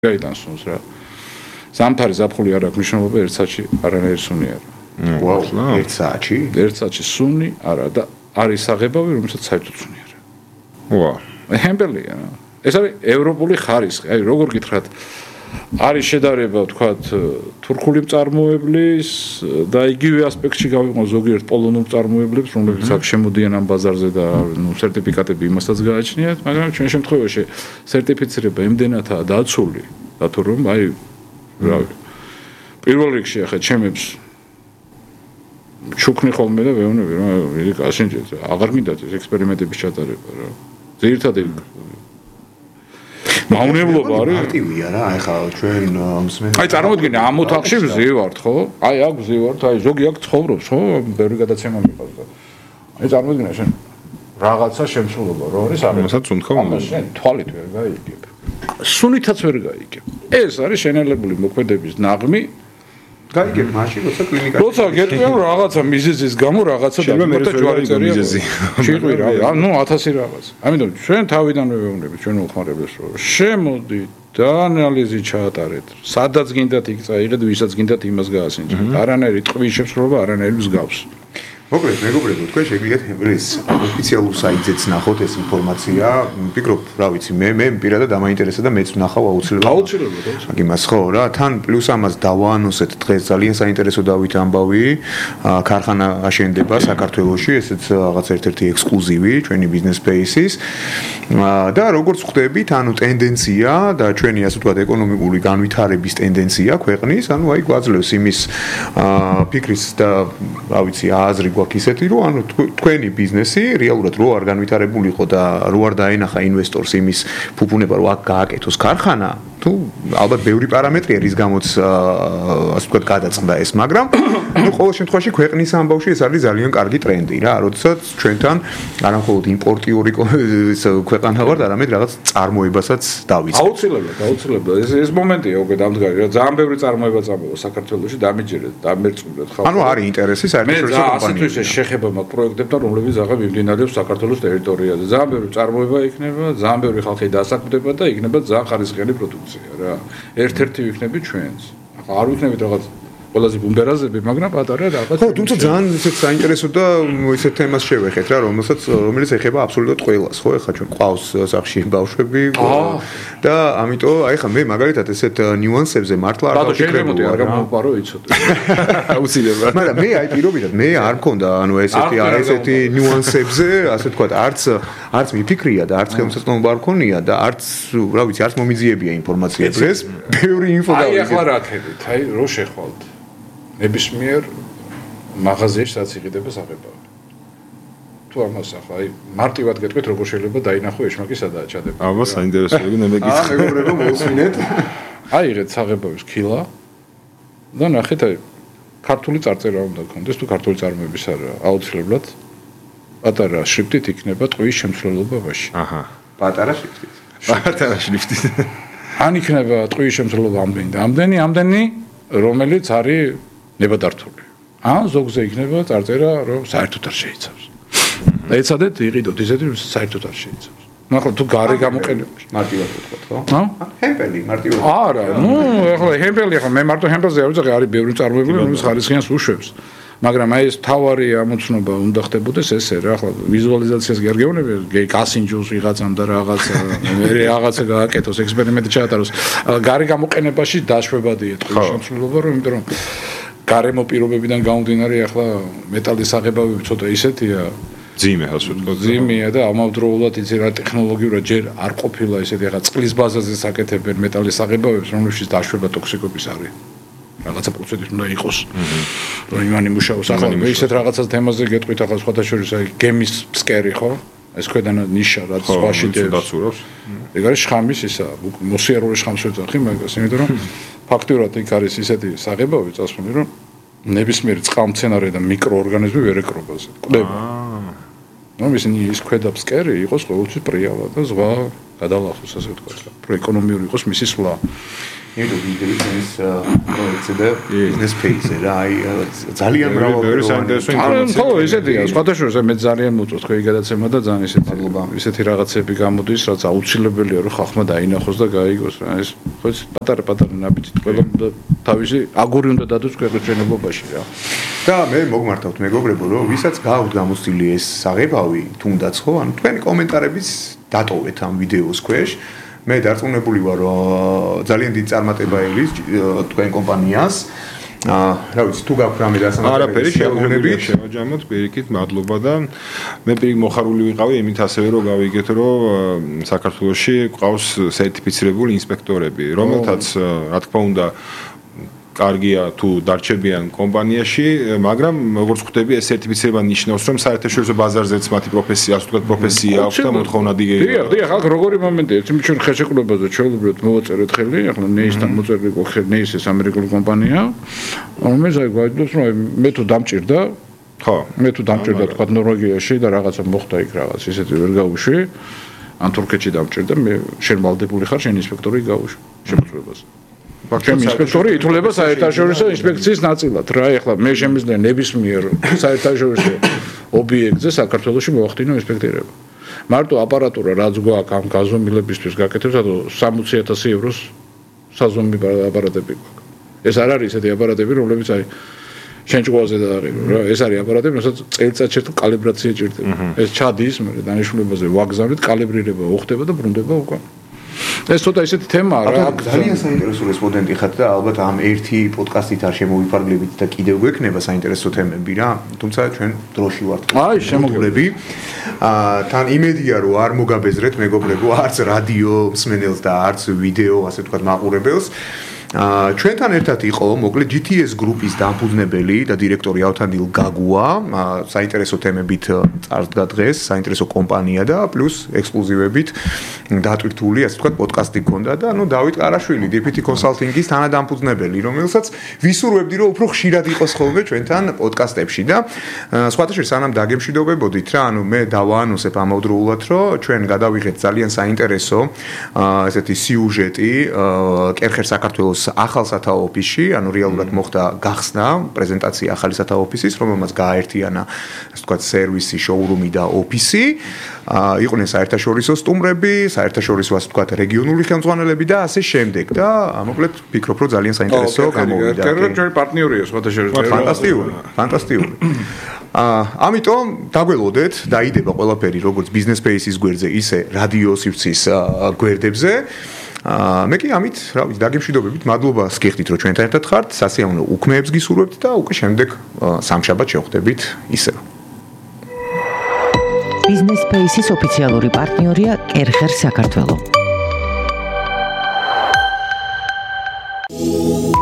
გაიტანს სუნს რა. ზამთარი ზაფხული არ აქვს მნიშვნელობა, ერთ საათში არანაირი სუნი არა. ვაუ, ერთ საათში? ერთ საათში სუნი არა და არის საღებავი, რომელსაც საერთოდ სუნი არა. ვაუ. ჰემბელია. ეს არის ევროპული ხარისხი. აი, როგორ გითხრათ, არის შედარება, თქვათ, თურქული მწარმოებლის და იგივე ასპექტში გავიყო ზოგიერთ პოლონურ მწარმოებლებს, რომლებიც აქ შემოდიან ამ ბაზარზე და სერტიფიკატები იმასაც გააჩნიათ, მაგრამ ჩვენ შემთხვევაში სერტიფიცირება იმდენადაა დაცული, რატო რომ აი რავი. პირველ რიგში ახლა ჩემებს ჩუქნი ხოლმე და ვეუბნები რა, ასენჯეთ, აღარ მინდათ ეს ექსპერიმენტების ჩატარება რა. ძირითადად მავნებლობა არის მარტივია რა, აი ხა ჩვენ მსმენელს აი წარმოგიდგენე ამ ოთახში ვზივართ ხო? აი აქ ვზივართ, აი ზოგი აქ ცხოვრობს ხო? ბევრი გადაცემა მიყვარს და აი წარმოგიდგენე შენ რაღაცა შემსრულობა რო არის ამასაც უნდხო შენ თვალით ვერ გაიგებ. სუნითაც ვერ გაიგებ. ეს არის შენელებული მოქმედების ნაღმი. გაიგებ მაშინ როცა კლინიკაში როცა გეტყვი რაღაცა მიზეზის გამო რაღაცა და ჯვარი მიზეზი შეყვი რა ნუ 1000 რაღაც ამიტომ ჩვენ თავიდანვე ვეუბნებით ჩვენ უხმარებელს რომ შემოდით და ანალიზი ჩაატარეთ სადაც გინდათ იქ წაიღეთ ვისაც გინდათ იმას გაასინჯეთ არანაირი ტყვის შემსრულობა არანაირი მსგავს მოკლედ მეგობრებო თქვენ შეგიძლიათ ეს ოფიციალურ საიტზეც ნახოთ ეს ინფორმაცია ვფიქრობ რა ვიცი მე პირადად დამაინტერესა და მეც ვნახავ აუცილებლად იმას ხო რა თან პლუს ამას დავაანონსეთ დღეს ძალიან საინტერესო დავით ამბავი ქარხანა აშენდება საქართველოში ესეც რაღაც ერთ-ერთი ექსკლუზივი ჩვენი ბიზნეს სპეისის და როგორც ხვდებით ანუ ტენდენცია და ჩვენი ასე ვთქვათ ეკონომიკური განვითარების ტენდენცია ქვეყნის ანუ აი გვაძლევს იმის ფიქრის და რა ვიცი აზრი ისეთი რომ ანუ თქვენი ბიზნესი რეალურად რო არ განვითარებულიყო და რო არ დაენახა ინვესტორს იმის ფუფუნება რომ აქ გააკეთოს ქარხანა თუ ალბათ ბევრი პარამეტრი არის გამოც ასე ვთქვათ გადაწყდა ეს მაგრამ ნუ ყოველ შემთხვევაში ქვეყნის ამბავში ეს არის ძალიან კარგი ტრენდი რა როდესაც ჩვენთან არა მხოლოდ იმპორტიორი ქვეყანა ვართ არამედ რაღაც წარმოებასაც დავიწყებთ აუცილებლად ეს მომენტია უკვე დამდგარი რა ძალიან ბევრი წარმოება წამოვა საქართველოში დამიჯერეთ დამერწმუნდეთ ხალხს ანუ არის ინტერესი საერთაშორისო კომპანიებში ეს შეეხება მაგ პროექტებთან რომლებიც აღარ მიმდინარეობს საქართველოს ტერიტორიაზე ძალიან ბევრი წარმოება იქნება ძალიან ბევრი ხალხი დასაქმდება და იქნება ძალიან ხარისხიანი პროდუქცია რა ერთ-ერთი ვიქნები ჩვენს ახლა არ ვიქნებით რაღაც ყველაზე ბუმბერაზები მაგრამ პატარა რაღაც ხო თუმცა ძალიან ისეთ საინტერესო და ისეთ თემას შევეხეთ რა რომელიც ეხება აბსოლუტურად ყველას ხო ეხლა ჩვენ ყავს სახში ბავშვები და ამიტომ აი ხა მე მაგალითად ესეთ ნიუანსებზე მართლა არ დავფიქრებოდი არ გამოვპარო იცოდე აუცილებლად მაგრამ მე აი პირობითად მე არ მქონდა ანუ ესეთი ნიუანსებზე ასე ვთქვათ არც მიფიქრია და არც ხელმისაწვდომობა არ მქონია და არც რა ვიცი არც მომიძიებია ინფორმაცია დღეს ბევრი ინფო დავიგე აი ახლა რა ხებით აი რო შეხვალთ ნებისმიერ მაღაზიაში რაც იყიდება საღებავი. თუ ამას ახლა აი მარტივად გეტყვით როგორ შეიძლება დაინახო ეშმაკი სადაა ჩადება. აბა საინტერესოა მე მეკითხა. მეგობრებო მოусმინეთ. აიღეთ საღებავის კილა და ნახეთ აი ქართული წარწერა უნდა გქონდეს თუ ქართული წარმოების არა აუცილებლად პატარა შრიფტით იქნება ტყვის შემცველობაში. აჰა. პატარა შრიფტით. პატარა შრიფტით. ან იქნება ტყვის შემცველობა ამდენი რომელიც არის ნებადართული. ან ზოგზე იქნება წარწერა რომ საერთოდ არ შეიცავს. და ეცადეთ იყიდოთ ისეთი რომ საერთოდ არ შეიცავს. ნუ ახლა თუ გარე გამოყენებაში მარტივად ვთქვათ ხო? ჰემპელი მარტივად. არა, ნუ ახლა ჰემპელი ახლა მე მარტო ჰემპელზე არ ვიცი, არის ბევრი წარმოებული რომელიც ხარისხიანს უშვებს. მაგრამ აი ეს თავარი ამოცნობა უნდა ხდებოდეს ესე რა ახლა ვიზუალიზაციას კი არ გეუბნები გასინჯოს ვიღაცამ და რაღაცა რაღაცა გააკეთოს ექსპერიმენტი ჩაატაროს გარე გამოყენებაში დაშვებადია ტყვის შემცველობა რომ იმიტომ რომ გარემო პირობებიდან გამომდინარე ახლა მეტალის აღებავები ცოტა ისეთია ძიმე ასე ვთქვათ ძიმეა და ამავდროულად იცი რა ტექნოლოგიურად ჯერ არ ყოფილა ისეთი ახლა წყლის ბაზაზე საკეთებენ მეტალის აღებავებს რომლებშიც დაშვება ტოქსიკობის არის რაღაცა პროცედური უნდა იყოს. რომ იმან იმუშაოს ახლა მე ისეთ რაღაცას თემაზე გეტყვით ახლა სხვათა შორის აი გემის ფსკერი ხო? ეს ქვედან ნიშა რაც სხვაში დაცურავს. ეგ არის შხამის ისა მოსიარული შხამს ვეძახი მაგას იმიტომ რომ ფაქტურად იქ არის ისეთი საღებავი წასული რომ ნებისმიერი წყალმცენარე და მიკროორგანიზმი ვერ ეკრობაზე. კვდება. ნუ ის ქვედა ფსკერი იყოს ყოველთვის პრიალა და ზღვა გადალახოს ასე ვთქვათ. რომ ეკონომიური იყოს მისი სვლა. იმიტომ ვიდეო ჩვენს პროექტზე და ბიზნეს ფეიზზე რა, აი ძალიან მრავალი საინტერესო ინფორმაცია. ხო, ესეთია, სხვადასხვა მე ძალიან მოწონს თქვენი გადაცემა და ძალიან ისეთი რაღაცები გამოდის, რაც აუცილებელია რომ ხალხმა დაინახოს და გაიგოს რა. ეს ხო ეს პატარა ნაბიჯით ყველა თავისი აგური უნდა დადოს ქვეყნებობაში რა. და მე მოგმართავთ მეგობრებო, რომ ვისაც გააქვთ გამოცდილი ეს საღებავი, თუნდაც ხო, ანუ თქვენი კომენტარების დატოვეთ ამ ვიდეოს ქვეშ. მე დარწმუნებული ვარ, რომ ძალიან დიდი წარმატება ელის თქვენ კომპანიას. რა ვიცი, თუ გაქვთ რამე არაფერი შევაჯამოთ, პირიქით, მადლობა და მე პირიქით მოხარული ვიყავი იმით ასევე რომ გავიგეთ, რომ საქართველოში ყავს სერტიფიცირებული ინსპექტორები, რომელთაც რა თქმა უნდა კარგია თუ დარჩებიან კომპანიაში, მაგრამ როგორც ხვდები, ეს სერტიფიცირება ნიშნავს, რომ საერთაშორისო ბაზარზეც მათი პროფესია, ასე ვთქვათ, პროფესია აქვს და მოთხოვნა დიდი. დიახ, ახლა როგორი მომენტია, ჩვენ ხელშეკრულებაზე ჩვეულებრივად მოვაწერეთ ხელი, ახლა ნეისთან მოწერილი ხელი, ნეის ეს ამერიკული კომპანია, რომელიც აი გვაძლევს, რომ მე თუ დამჭირდა, ხო, მე თუ დამჭირდა თქვა ნორვეგიაში და რაღაცა მოხდა იქ რაღაც, ისეთი ვერ გავუშვი, ან თურქეთში დამჭირდა, მე შენ ვალდებული ხარ, შენ ინსპექტორი გავუშვი შემოწმებას. ჩემი ინსპექტორი ითვლება საერთაშორისო ინსპექციის ნაწილად რა ეხლა მე შემიძლია ნებისმიერ საერთაშორისო ობიექტზე საქართველოში მოვახდინო ინსპექტირება მარტო აპარატურა რაც გვაქვს ამ გაზომილებისთვის გაკეთებს ანუ 60,000 ევროს საზომი აპარატები გვაქვს ეს არ არის ესეთი აპარატები რომლებიც აი შენ ჭუაზე და არის რა ეს არის აპარატები რასაც წელიწადში ერთ კალიბრაცია ჭირდება ეს ჩადის მე დანიშნულებაზე ვაგზავნით კალიბრირება უხდება და ბრუნდება უკვე ეს ცოტა ისეთი თემაა რა. ძალიან საინტერესო რესპონდენტი ხართ და ალბათ ამ ერთი პოდკასტით არ შემოვიფარგლებით და კიდევ გვექნება საინტერესო თემები რა. თუმცა ჩვენ დროში ვართ. აი, შემოგვივლები. თან იმედია რომ არ მოგაბეზრეთ მეგობრებო, არც რადიო მსმენელს და არც ვიდეო, ასე ვთქვათ, მაყურებელს. ჩვენთან ერთად იყო მოკლედ GTS გრუპის დამფუძნებელი და დირექტორი ავთანდილ გაგუა, საინტერესო თემებით წარსდგა დღეს, საინტერესო კომპანია და პლუს ექსკლუზივებით დატვირთული, ასე ვთქვათ, პოდკასტი გქონდა და ანუ დავით ყარაშვილი, DPT Consulting-ის თანადამფუძნებელი, რომელსაც ვისურვებდი რომ უფრო ხშირად იყოს ხოლმე ჩვენთან პოდკასტებში და სხვათა შორის სანამ დაგემშვიდობებოდით რა, ანუ მე დავაანონსებ ამავდროულად, რომ ჩვენ გადავიღეთ ძალიან საინტერესო ესეთი სიუჟეტი კერხერ საქართველოს ახალ სათაო ოფისში, ანუ რეალურად მოხდა გახსნა პრეზენტაცია ახალი სათაო ოფისის, რომელმაც გააერთიანა, ასე ვთქვათ, სერვისი, შოურუმი და ოფისი. იყვნენ საერთაშორისო სტუმრები, საერთაშორისო, ასე ვთქვათ, რეგიონული ხელმძღვანელები და ასე შემდეგ და მოკლედ ვფიქრობ, რომ ძალიან საინტერესო გამოვიდა. კერგერი პარტნიორია სხვადასხვა. ფანტასტიკური. ამიტომ დაგველოდეთ, დაიდება ყველაფერი როგორც Business Space-ის გვერდზე, ისე რადიო სივრცის გვერდებზე. მე კი ამით, რა ვიცი, დაგემშვიდობებით, მადლობა გიხდით, რომ ჩვენთან ერთად ხართ, სასიამოვნო უქმეებს გისურვებთ და უკვე შემდეგ სამშაბათ შევხვდებით ისევ. Business Space-ის ოფიციალური პარტნიორია კერხერ საქართველო.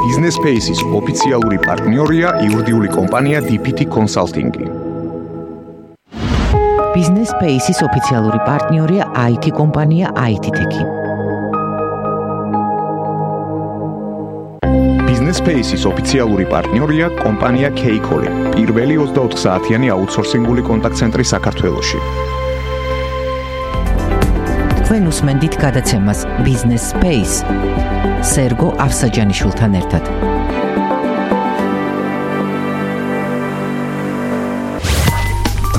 Business Space-ის ოფიციალური პარტნიორია იურიდიული კომპანია DPT Consulting. Business Space-ის ოფიციალური პარტნიორია IT კომპანია IT-Tech. Business Space-ის ოფიციალური პარტნიორია კომპანია K-Call, პირველი 24 საათიანი აუთსორსინგული კონტაქტ-ცენტრი საქართველოში. თქვენ უსმენთ გადაცემას Business Space სერგო ავსაჯანიშვილთან ერთად.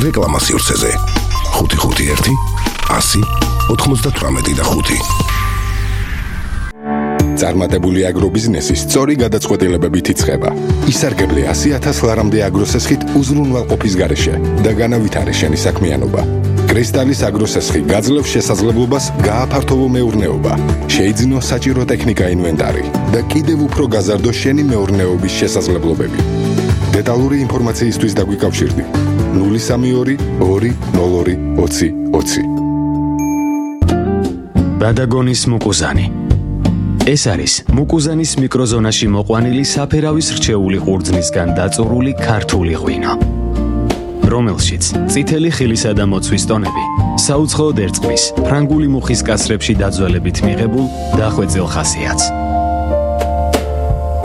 რეკლამა სივრცეზე 551 100 98 და 5. წარმატებული აგრობიზნესის სწორი გადაწყვეტილებებით იწყება. ისარგებლე 100,000 ლარამდე აგროსესხით უზრუნველყოფის გარეშე და განავითარე შენი საქმიანობა. კრისტალის აგროსესხი გაძლევს შესაძლებლობას გააფართოვო მეურნეობა, შეიძინო საჭირო ტექნიკა ინვენტარი და კიდევ უფრო გაზარდო შენი მეურნეობის შესაძლებლობები. დეტალური ინფორმაციისთვის დაგვიკავშირდი 032 202 20 20. ბადაგონის მუკუზანი. ეს არის მუკუზანის მიკროზონაში მოყვანილი საფერავის რჩეული ყურძნისგან დაწურული ქართული ღვინო, რომელშიც წითელი ხილისა და მოცვის ტონები საუცხოოდ ერწყმის ფრანგული მუხის კასრებში დაძველებით მიღებულ დახვეწილ ხასიათს.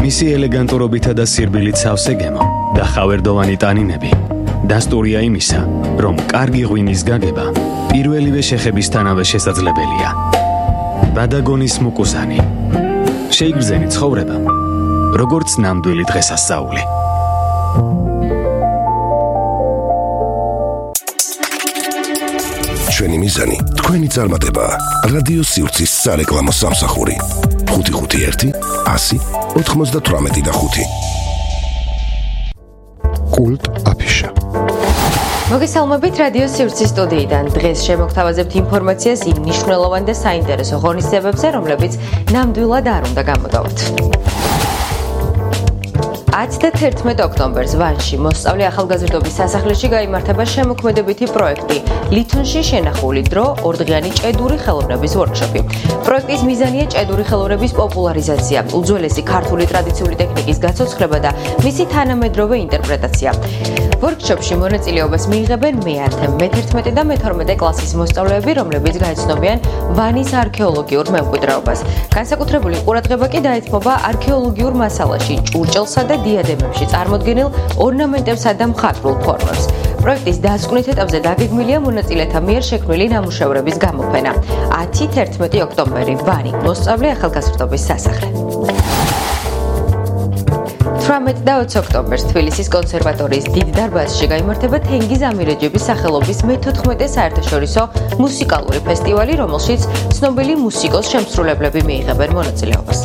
მისი ელეგანტურობითა და სირბილით სავსე გემო და ხავერდოვანი ტანინები დასტურია იმისა, რომ კარგი ღვინის გაგება პირველივე შეხებისთანავე შესაძლებელია. ბადაგონის მუკუზანი. შეიგრძენი ცხოვრება, როგორც ნამდვილი დღესასწაული. ჩვენი მიზანი თქვენი წარმატებაა. რადიო სივრცის სარეკლამო სამსახური 551 100 98 კულტ აფიშა. მოგესალმებით რადიო სივრცის სტუდიიდან. დღეს შემოგთავაზებთ ინფორმაციას იმ მნიშვნელოვან და საინტერესო ღონისძიებებზე, რომლებიც ნამდვილად არ უნდა გამოდავთ. 10 და 11 ოქტომბერს ვანში მოსწავლე ახალგაზრდობის სასახლეში გაიმართება შემოქმედებითი პროექტი ლითონში შენახული დრო ორდღიანი ჭედური ხელოვნების ვორქშოპი. პროექტის მიზანია ჭედური ხელოვნების პოპულარიზაცია, უძველესი ქართული ტრადიციული ტექნიკის გაცოცხლება და მისი თანამედროვე ინტერპრეტაცია. ვორქშოპში მონაწილეობას მიიღებენ მე-10, მე-11 და მე-12 კლასის მოსწავლეები, რომლებიც გაეცნობიან ვანის არქეოლოგიურ მემკვიდრეობას. განსაკუთრებული ყურადღება კი დაეთმობა არქეოლოგიურ მასალაში, ჭურჭელსა და დიადემებში წარმოდგენილ ორნამენტებსა და მხატვრულ ფორმებს. პროექტის დასკვნით ეტაპზე დაგეგმილია მონაწილეთა მიერ შექმნილი ნამუშევრების გამოფენა. 10-11 ოქტომბერი ვანი, მოსწავლე ახალგაზრდობის სასახლე. 18 და 20 ოქტომბერს თბილისის კონსერვატორიის დიდ დარბაზში გაიმართება თენგიზ ამირეჯიბის სახელობის მე-14 საერთაშორისო მუსიკალური ფესტივალი, რომელშიც ცნობილი მუსიკოს შემსრულებლები მიიღებენ მონაწილეობას.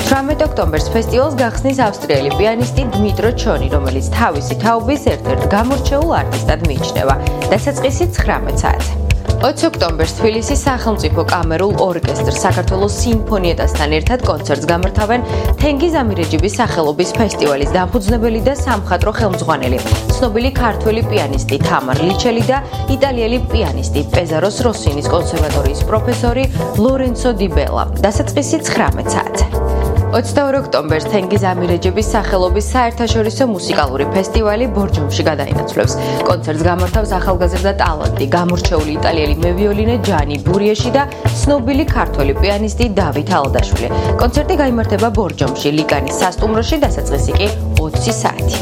18 ოქტომბერს ფესტივალს გახსნის ავსტრიელი პიანისტი დმიტრო ჩონი, რომელიც თავისი თაობის ერთ-ერთ გამორჩეულ არტისტად მიიჩნევა. დასაწყისი 19 საათზე. 20 ოქტომბერს თბილისის სახელმწიფო კამერულ ორკესტრს საქართველოს სიმფონიეტასთან ერთად კონცერტს გამართავენ თენგიზ ამირეჯიბის სახელობის ფესტივალის დამფუძნებელი და სამხატვრო ხელმძღვანელი, ცნობილი ქართველი პიანისტი თამარ ლიჩელი და იტალიელი პიანისტი პეზაროს როსინის კონსერვატორიის პროფესორი ლორენცო დი ბელა. დასაწყისი 19 საათზე. 22 ოქტომბერს თენგიზ ამირეჯიბის სახელობის საერთაშორისო მუსიკალური ფესტივალი ბორჯომში გადაინაცვლებს. კონცერტს გამართავს ახალგაზრდა ტალანტი, გამორჩეული იტალიელი მევიოლინე ჯანი ბურიეში და ცნობილი ქართველი პიანისტი დავით ალდაშვილი. კონცერტი გაიმართება ბორჯომში, ლიკანის სასტუმროში, დასაწყისი კი 20 საათი.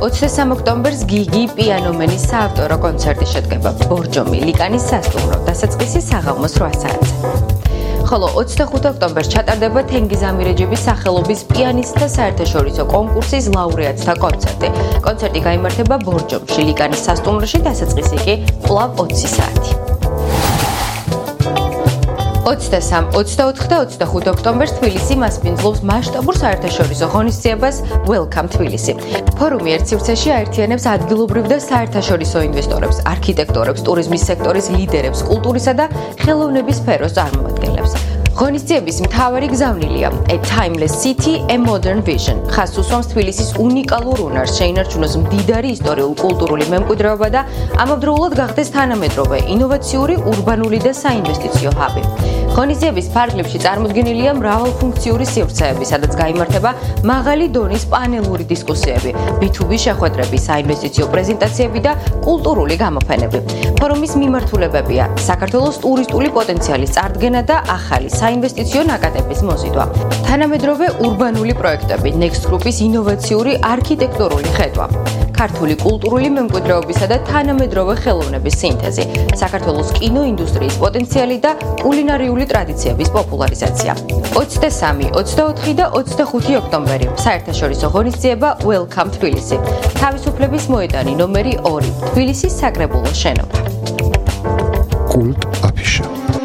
23 ოქტომბერს გიგი პიანომენის საავტორო კონცერტი შედგება ბორჯომი, ლიკანის სასტუმრო, დასაწყისი საღამოს 8 საათზე. ხოლო 25 ოქტომბერს ჩატარდება თენგიზ ამირეჯიბის სახელობის პიანისტთა საერთაშორისო კონკურსის ლაურეატთა კონცერტი. კონცერტი გაიმართება ბორჯომში, ლიკანის სასტუმროში, დასაწყისი კი კვლავ 20 საათი. 23, 24 და 25 ოქტომბერს თბილისი მასპინძლობს მასშტაბურ საერთაშორისო ღონისძიებას Welcome Tbilisi. ფორუმი ერთ სივრცეში აერთიანებს ადგილობრივ და საერთაშორისო ინვესტორებს, არქიტექტორებს, ტურიზმის სექტორის ლიდერებს, კულტურისა და ხელოვნების სფეროს წარმომადგენლებს. ღონისძიების მთავარი გზავნილია A Timeless City, A Modern Vision. ხაზს უსვამს თბილისის უნიკალურ უნარს, შეინარჩუნოს მდიდარი ისტორიულ-კულტურული მემკვიდრეობა და ამავდროულად გახდეს თანამედროვე, ინოვაციური, ურბანული და საინვესტიციო ჰაბი. ღონისძიების ფარგლებში წარმოდგენილია მრავალფუნქციური სივრცეები, სადაც გაიმართება მაღალი დონის პანელური დისკუსიები, B2B შეხვედრები, საინვესტიციო პრეზენტაციები და კულტურული გამოფენები. ფორუმის მიმართულებებია საქართველოს ტურისტული პოტენციალის წარდგენა და ახალი საინვესტიციო ნაკადების მოზიდვა. თანამედროვე ურბანული პროექტები, Next Group-ის ინოვაციური არქიტექტურული ხედვა. ქართული კულტურული მემკვიდრეობისა და თანამედროვე ხელოვნების სინთეზი, საქართველოს კინოინდუსტრიის პოტენციალი და კულინარიული ტრადიციების პოპულარიზაცია. 23, 24 და 25 ოქტომბერი საერთაშორისო ღონისძიება Welcome Tbilisi. თავისუფლების მოედანი ნომერი 2, თბილისის საკრებულოს შენობა. კულტ აფიშა.